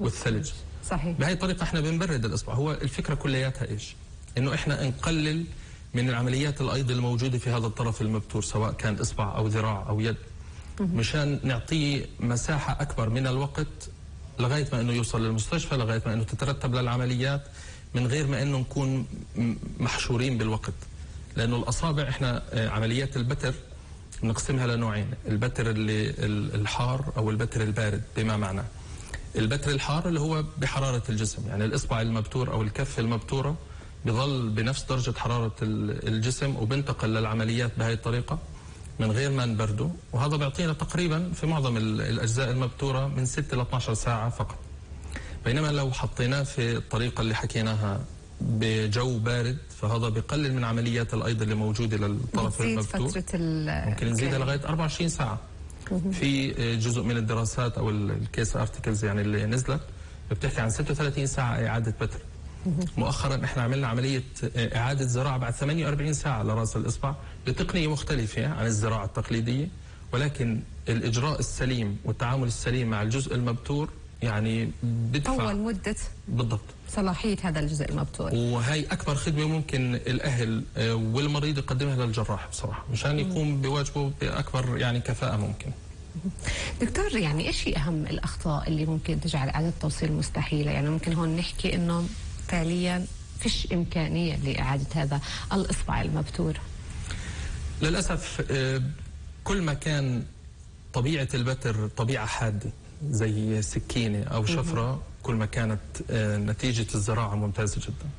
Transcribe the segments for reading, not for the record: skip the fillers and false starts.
والثلج. صحيح. بهي الطريقة احنا بنبرد الإصبع. هو الفكرة كلياتها إيش؟ إنه احنا نقلل من العمليات الأيض الموجودة في هذا الطرف المبتور، سواء كان إصبع أو ذراع أو يد، مشان نعطيه مساحة أكبر من الوقت لغاية ما إنه يوصل للمستشفى، لغاية ما إنه تترتب للعمليات، من غير ما إنه نكون محشورين بالوقت. لأنه الأصابع احنا عمليات البتر نقسمها لنوعين، البتر اللي الحار أو البتر البارد. بما معنى البتر الحار اللي هو بحرارة الجسم، يعني الإصبع المبتور أو الكف المبتورة بظل بنفس درجة حرارة الجسم وبنتقل للعمليات بهذه الطريقة من غير ما نبرده، وهذا بيعطينا تقريبا في معظم الأجزاء المبتورة من 6 ل 12 ساعة فقط. بينما لو حطيناه في الطريقة اللي حكيناها بجو بارد، فهذا بيقلل من عمليات الأيض اللي موجودة للطرف المبتور، ممكن نزيدها لغاية 24 ساعة. في جزء من الدراسات أو الكيس ارتكلز يعني اللي نزلت بتحكي عن 36 ساعة إعادة بتر. مؤخرا احنا عملنا عملية إعادة زراعة بعد 48 ساعة لرأس الإصبع بتقنية مختلفة عن الزراعة التقليدية، ولكن الإجراء السليم والتعامل السليم مع الجزء المبتور يعني بدفع طول مدة بالضبط صلاحية هذا الجزء المبتور. وهي أكبر خدمة ممكن الأهل والمريض يقدمها للجراح بصراحة، مشان يقوم بواجبه بأكبر يعني كفاءة ممكن. دكتور، يعني إيش هي أهم الأخطاء اللي ممكن تجعل إعادة التوصيل مستحيلة؟ يعني ممكن هون نحكي إنه فعليا فيش إمكانية لإعادة هذا الإصبع المبتور. للأسف كل ما كان طبيعة البتر طبيعة حادة زي سكينة أو شفرة، كل ما كانت نتيجة الزراعة ممتازة جدا.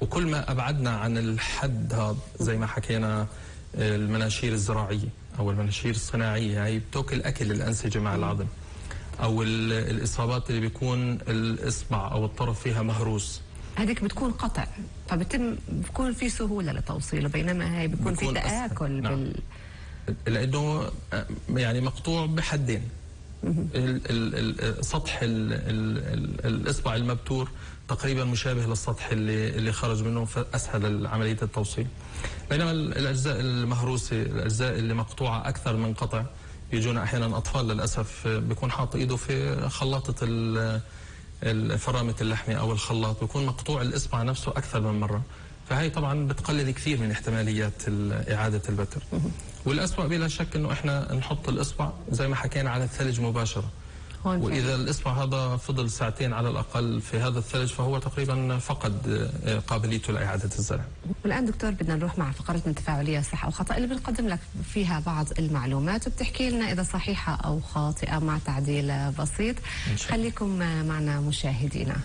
وكل ما أبعدنا عن الحد هذا زي ما حكينا المناشير الزراعية أو المناشير الصناعية، هي بتاكل أكل الأنسجة مع العظم، أو الإصابات اللي بيكون الإصبع أو الطرف فيها مهروس، هذيك بتكون قطع، بيكون في سهولة لتوصيله، بينما هي بيكون في تآكل. نعم. لأنه يعني مقطوع بحدين. سطح الإصبع المبتور تقريبا مشابه للسطح اللي خرج منه، فأسهل عملية التوصيل. بينما الأجزاء المهروسة، الأجزاء اللي مقطوعة أكثر من قطع، يجونا أحيانا أطفال للأسف بيكون حاط إيده في خلاطة فرامة اللحمة أو الخلاط، بيكون مقطوع الإصبع نفسه أكثر من مرة، فهي طبعا بتقلل كثير من احتماليات إعادة البتر. والأسوأ بلا شك إنه إحنا نحط الإصبع زي ما حكينا على الثلج مباشرة، وإذا الإصبع هذا فضل ساعتين على الأقل في هذا الثلج فهو تقريبا فقد قابليته لإعادة الزرع. والآن دكتور بدنا نروح مع فقرتنا التفاعلية صح أو خطأ، اللي بنقدم لك فيها بعض المعلومات وبتحكي لنا إذا صحيحة أو خاطئة مع تعديل بسيط. خليكم معنا مشاهدينا.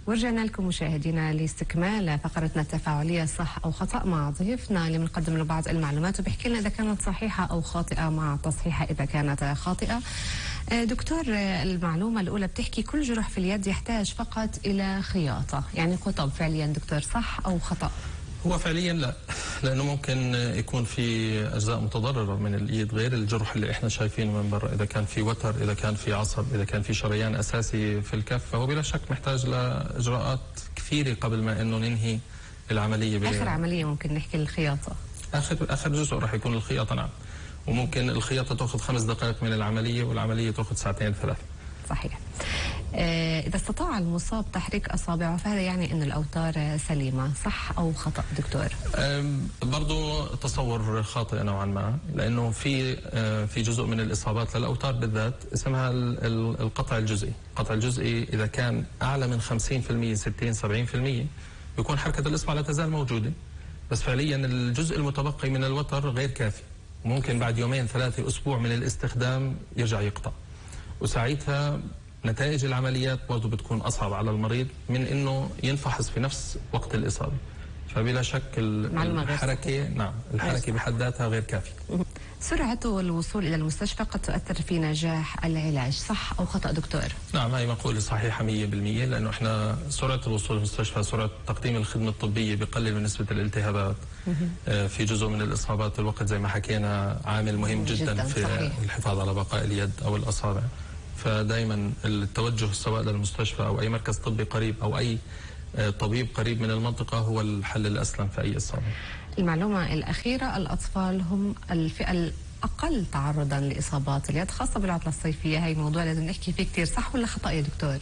ورجعنا لكم مشاهدينا لاستكمال فقرتنا التفاعلية صح أو خطأ مع ضيفنا اللي بنقدم له بعض المعلومات وبيحكي لنا إذا كانت صحيحة أو خاطئة مع تصحيحها إذا كانت خاطئة. دكتور، المعلومة الأولى بتحكي كل جرح في اليد يحتاج فقط إلى خياطة، يعني قطب فعليا دكتور، صح أو خطأ؟ هو فعليا لا، لأنه ممكن يكون في أجزاء متضررة من الإيد غير الجرح اللي إحنا شايفينه من برا. إذا كان في وتر، إذا كان في عصب، إذا كان في شريان أساسي في الكف، فهو بلا شك محتاج لإجراءات كثيرة قبل ما إنه ننهي العملية. آخر عملية ممكن نحكي الخياطة. آخر جزء راح يكون الخياطة، نعم. وممكن الخياطة تأخذ 5 دقائق من العملية، والعملية تأخذ 2 3. صحيح. إذا استطاع المصاب تحريك أصابعه فهذا يعني أن الأوتار سليمة، صح أو خطأ دكتور؟ برضو تصور خاطئ نوعا ما، لأنه في جزء من الإصابات للأوتار بالذات اسمها القطع الجزئي. القطع الجزئي إذا كان أعلى من 50% 60 70% بيكون حركة الإصبع لا تزال موجودة، بس فعليا الجزء المتبقي من الوتر غير كافي، وممكن بعد 2 3 أسبوع من الاستخدام يرجع يقطع، وساعتها نتائج العمليات برضه بتكون أصعب على المريض من إنه ينفحص في نفس وقت الإصابة. فبلا شك الحركة، نعم، الحركة بحد ذاتها غير كافية. سرعة الوصول إلى المستشفى قد تؤثر في نجاح العلاج، صح أو خطأ دكتور؟ نعم، هي مقولة صحيحة 100%، لأنه إحنا سرعة الوصول للمستشفى، سرعة تقديم الخدمة الطبية بقلل من نسبة الالتهابات. في جزء من الإصابات الوقت زي ما حكينا عامل مهم جدا في صحيح. الحفاظ على بقاء اليد أو الأصابع. فدائما التوجه سواء للمستشفى أو أي مركز طبي قريب أو أي طبيب قريب من المنطقة هو الحل الأسلم في أي إصابة. المعلومة الأخيرة، الأطفال هم الفئة الأقل تعرضا لإصابات اليد خاصة بالعطلة الصيفية. هي موضوع لازم نحكي فيه كتير، صح ولا خطأ يا دكتور؟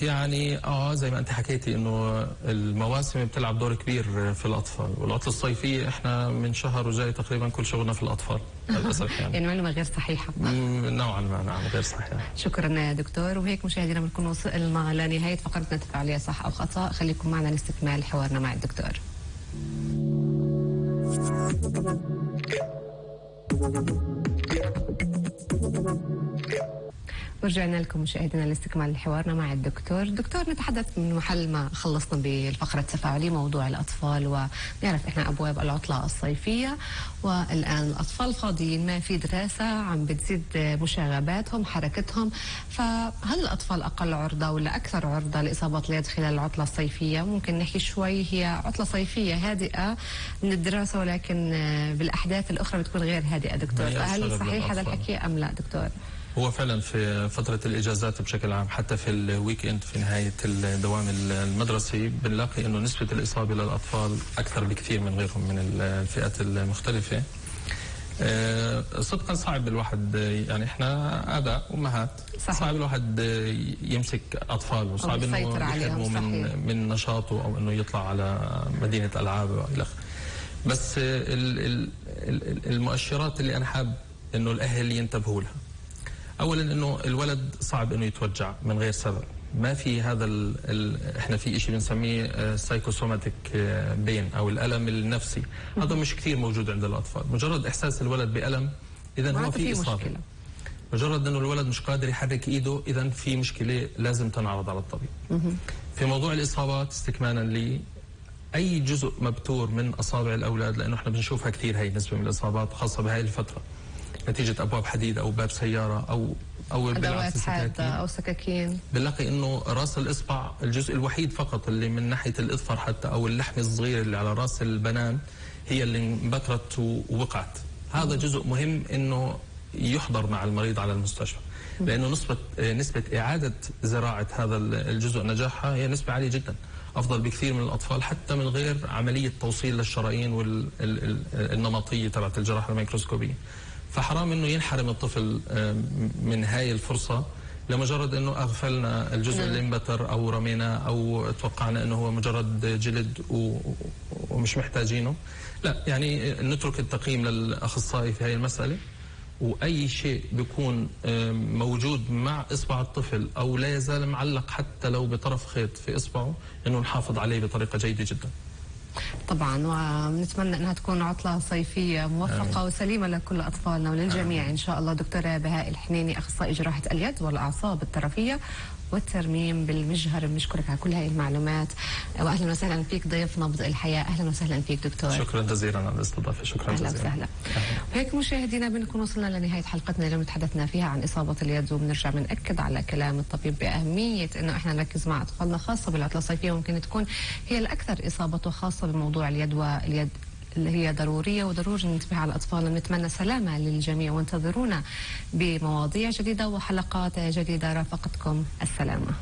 يعني زي ما انت حكيتي انه المواسم بتلعب دور كبير في الاطفال، والعطله الصيفيه احنا من شهر وجاي تقريبا كل شغلنا في الاطفال للاسف يعني معلومه غير صحيحه نوعا ما. نعم غير صحيحه. شكرا يا دكتور. وهيك مشاهدينا بنكون وصلنا لنهايه فقرتنا تفاعليه صح او خطا. خليكم معنا لاستكمال حوارنا مع الدكتور. ورجعنا لكم مشاهدينا لاستكمال حوارنا مع الدكتور. دكتور، نتحدث من محل ما خلصنا بالفقرة التفاعلية موضوع الأطفال، ونعرف إحنا أبواب العطلة الصيفية، والآن الأطفال فاضيين، ما في دراسة، عم بتزيد مشاغباتهم حركتهم، فهل الأطفال أقل عرضة ولا أكثر عرضة لإصابات اليد خلال العطلة الصيفية؟ ممكن نحكي شوي، هي عطلة صيفية هادئة من الدراسة، ولكن بالأحداث الأخرى بتكون غير هادئة دكتور، فهل صحيح هذا الحكي أم لا دكتور؟ هو فعلا في فترة الإجازات بشكل عام، حتى في الويك إند في نهاية الدوام المدرسي، بنلاقي إنه نسبة الإصابة للأطفال أكثر بكثير من غيرهم من الفئات المختلفة. صدقا صعب الواحد، يعني إحنا آباء أمهات، صعب الواحد يمسك أطفال، وصعب إنه يحرمه من نشاطه أو إنه يطلع على مدينة ألعاب وإلى آخره. بس المؤشرات اللي أنا حاب إنه الأهل ينتبهوا لها، اولا انه الولد صعب انه يتوجع من غير سبب، ما في هذا احنا في شيء بنسميه سايكوسوماتيك بين او الالم النفسي، هذا مش كثير موجود عند الاطفال. مجرد احساس الولد بالم اذا هو في اصابه، مجرد انه الولد مش قادر يحرك ايده اذا في مشكله لازم تنعرض على الطبيب. في موضوع الاصابات استكمالا لي، اي جزء مبتور من اصابع الاولاد، لانه احنا بنشوفها كثير هي نسبه من الاصابات خاصه بهاي الفتره، نتيجة أبواب حديد أو باب سيارة أو أدوات حادة أو سكاكين، بنلاقي إنه راس الإصبع الجزء الوحيد فقط اللي من ناحية الإظفر حتى أو اللحم الصغير اللي على راس البنان هي اللي انبترت ووقعت. هذا جزء مهم إنه يحضر مع المريض على المستشفى، لأنه نسبة إعادة زراعة هذا الجزء نجاحها هي نسبة عالية جدا، أفضل بكثير من الأطفال حتى من غير عملية توصيل للشرايين والنمطية تبعت الجراحة الميكروسكوبية. فحرام انه ينحرم الطفل من هاي الفرصه لمجرد انه اغفلنا الجزء اللي انبتر او رميناه او توقعنا انه هو مجرد جلد ومش محتاجينه. لا، يعني نترك التقييم للاخصائي في هاي المساله، واي شيء بيكون موجود مع اصبع الطفل او لا يزال معلق حتى لو بطرف خيط في اصبعه انه نحافظ عليه بطريقه جيده جدا. طبعا، ونتمنى انها تكون عطله صيفيه موفقه وسليمه لكل اطفالنا وللجميع ان شاء الله. دكتوره بهاء الحنيني، اخصائي جراحه اليد والاعصاب الطرفيه والترميم بالمجهر، بنشكرك على كل هاي المعلومات، واهلا وسهلا فيك ضيف نبض الحياه. اهلا وسهلا فيك دكتور. شكرا جزيلا على الاستضافه. شكرا جزيلا. اهلا وسهلا. وهيك مشاهدينا بنكون وصلنا لنهايه حلقتنا اليوم، تحدثنا فيها عن اصابه اليد، وبنرجع بنأكد على كلام الطبيب باهميه انه احنا نركز مع اطفالنا خاصه بالعطله الصيفيه، ممكن تكون هي الاكثر اصابه خاصه بموضوع اليد، واليد اللي هي ضرورية وضروري ننتبه على أطفالنا. نتمنى سلامة للجميع، وانتظرونا بمواضيع جديدة وحلقات جديدة. رافقتكم السلامة.